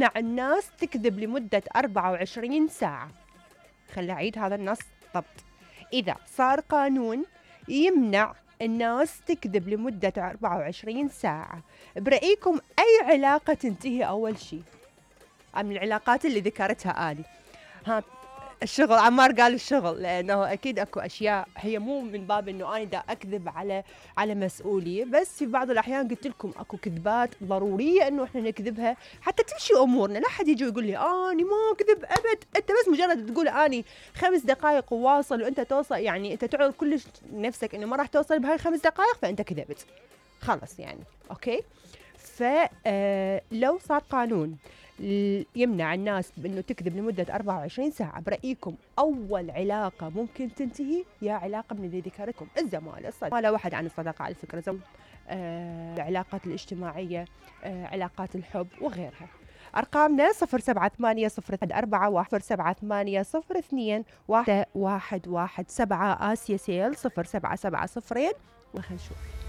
يمنع الناس تكذب لمدة 24 ساعة. خلي أعيد هذا النص ضبط. إذا صار قانون يمنع الناس تكذب لمدة 24 ساعة، برأيكم أي علاقة تنتهي أول شيء من العلاقات اللي ذكرتها آني؟ ها، الشغل. عمار قال الشغل، لأنه أكيد أكو أشياء هي مو من باب إنه أنا دا أكذب على مسؤولية، بس في بعض الأحيان قلت لكم أكو كذبات ضرورية إنه إحنا نكذبها حتى تمشي أمورنا. لا حد يجي يقول لي أني ما أكذب أبد، أنت بس مجرد تقول أني 5 دقائق وواصل وأنت توصل، يعني أنت تعرض كلش نفسك إنه ما راح توصل بهاي 5 دقائق، فأنت كذبت خلص يعني. أوكي، فلو صار قانون يمنع الناس بأنه تكذب لمدة 24 ساعة، برأيكم أول علاقة ممكن تنتهي يا علاقة من اللي ذكرتكم؟ الزمالة، الصداقة، ولا واحد عن الصداقة على فكرة، العلاقات الاجتماعية، علاقات الحب وغيرها. أرقامنا 07840478021117 آسيا سيل 0770. وخلنا نشوف.